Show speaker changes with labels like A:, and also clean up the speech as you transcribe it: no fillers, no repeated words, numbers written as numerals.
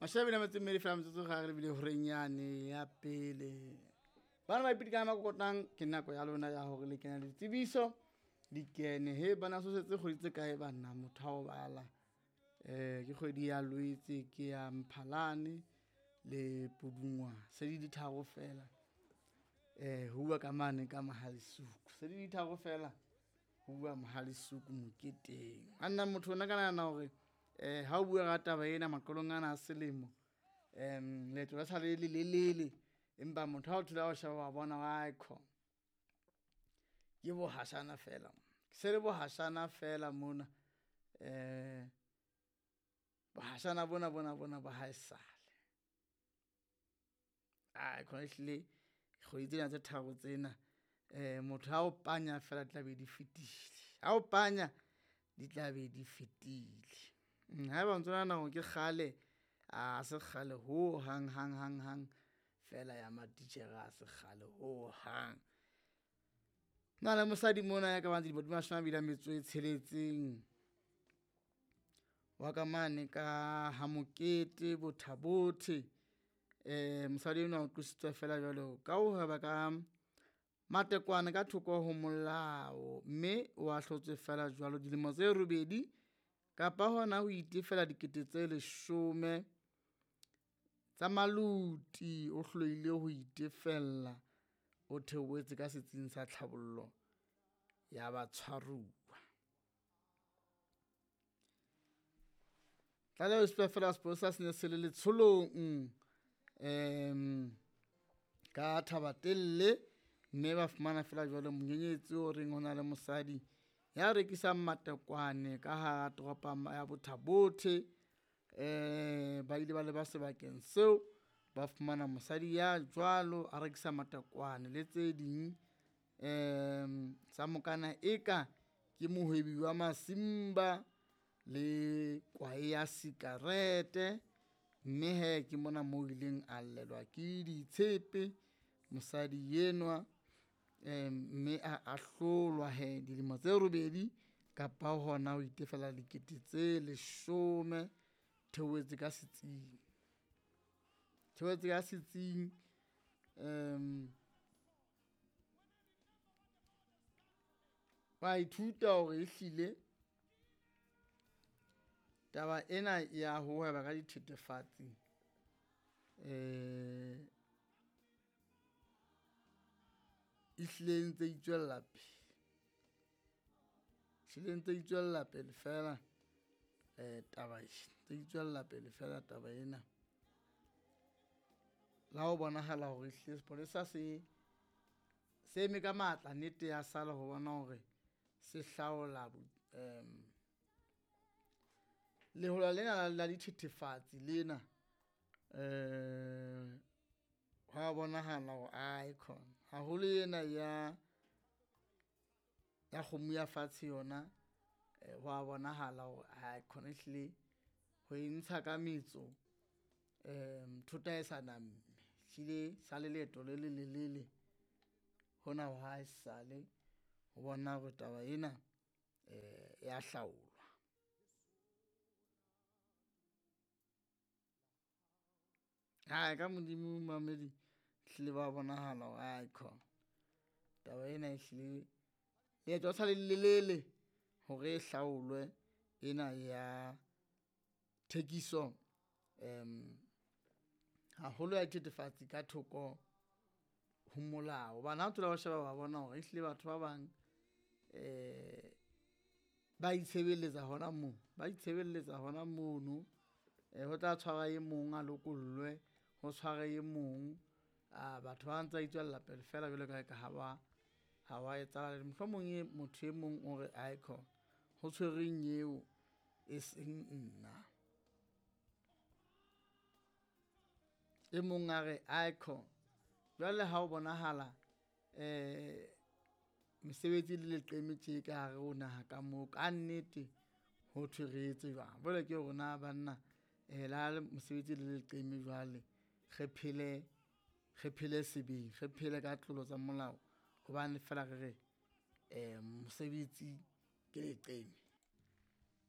A: Mashabela metso mmedi fela metsotso ga re lebile horeng yane ya pele. Bana ba ipidi ka makokotang ke nako ya lona ya hore le kena ditsebiso di kene. He bana so setse kgwedi tse kae banna motho ha o bala. Ke kgwedi ya Lwetse ke ya Mphalane le Pudungwana. Se di tharo fela. Ho bua ka mane ka Mohalesuku. Se di tharo fela ho bua Mohalesuku moketeng. A nna motho ona ka nahana hore ha o bua ka taba ena maqalong ana a selemo leeto la sa le lelelele empa motho ha o thola o sheba wa bona wa kho ke bohashana fela se le bohashana fela mona bohashana bona bona bona ba haesale. Ai khona ehlile kgwedi tsena tse tharo tsena motho ha o panya fela di tla be di fetile. Ha o panya di tla be di fetile. Haeba o ntso nahana hore ke kgale, a se kgale ho hang hang hang hang fela ya matitjhere ha se kgale ho hang. Na le mosadi mona ya ka bang dilemo di mashome a mabedi a metso e tsheletseng wa ka mane ka ha Mokete Botha-Bothe. Mosadi enwa o qositswe fela jwalo ka ho hweba ka matekwane ka thoko ho molao, mme o ahlotswe fela jwalo dilemo tse robedi kapa hona ho itefela dikete tse leshome tsa maluti. O hlolehile ho itefella, o theohetse ka setsing sa tlhabollo ya batshwaruwa. Tlaleho e supa fela sepolesa se ne se le letsholong ka Thaba-Telle mme ba fumana fela jwalo monyenyetsi o reng hona le mosadi ya rekisang matekwane ka hara toropo ya Botha-Bothe. Ba ile ba leba sebakeng seo, ba fumana mosadi ya jwalo a rekisa matekwane le tse ding sa mokana eka ke mohwebi wa masimba le kwae ya sikarete. Mme hee ke mona mo ileng a llelwa ke ditshepe mosadi enwa mme a ahlolwa he dilemo tse robedi kapa hona ho itefela dikete tse leshome. Theohetse ka setsing, theohetse ka setsing wa ithuta hore ehlile taba ena ya ho hweba ka dithethefatsi ehlile e ntse itswella pele, ehlile e ntse itswella pele fela taba e ntse itswella pele fela taba ena. La ho bonahala hore ehlile sepolesa se se eme ka matla, nnete ya sala ho bona hore se hlaola lehola lena la dithethefatsi lena hwa bonahala hore ae khona haholo ena ya ya kgomo ya fatshe yona hwa bonahala hore ae khona ehlile ho e ntsha ka metso thota e sa namme. Ehlile sa le leeto le lelelele hona ho haesale ho bona hore taba ena ya hlaolwa. Hai ka Modimo mamedi ehlile ba bonahala hore ae khona taba ena ehlile leeto le sa le lelelele hore e hlaolwe ena ya thekiso haholo ya dithethefatsi ka thoko ho molao. Hobane ha o thola o sheba wa bona hore ehlile batho ba bang ba itshebeletsa hona moo, ba itshebeletsa hona mono. Ho tla tshwara e mong a lokollwe, ho tshware e mong. A batho ba ntse ba itswella pele fela jwalo ka ha ba ha wa etsahala. Mohlomong e motho e mong o re aikhona ho tshwerweng eo e seng nna. E mong a re aikhona jwale ha o bonahala mesebetsi le leqeme tje ka hare ho naha ka moo, ka nnete ho thwe re etse jwang? Jwale ke rona banna le ha mosebetsi le leqeme jwale re phele, re phele sebeng, re phele ka tlolo tsa molao hobane fela re re mosebetsi ke leqeme.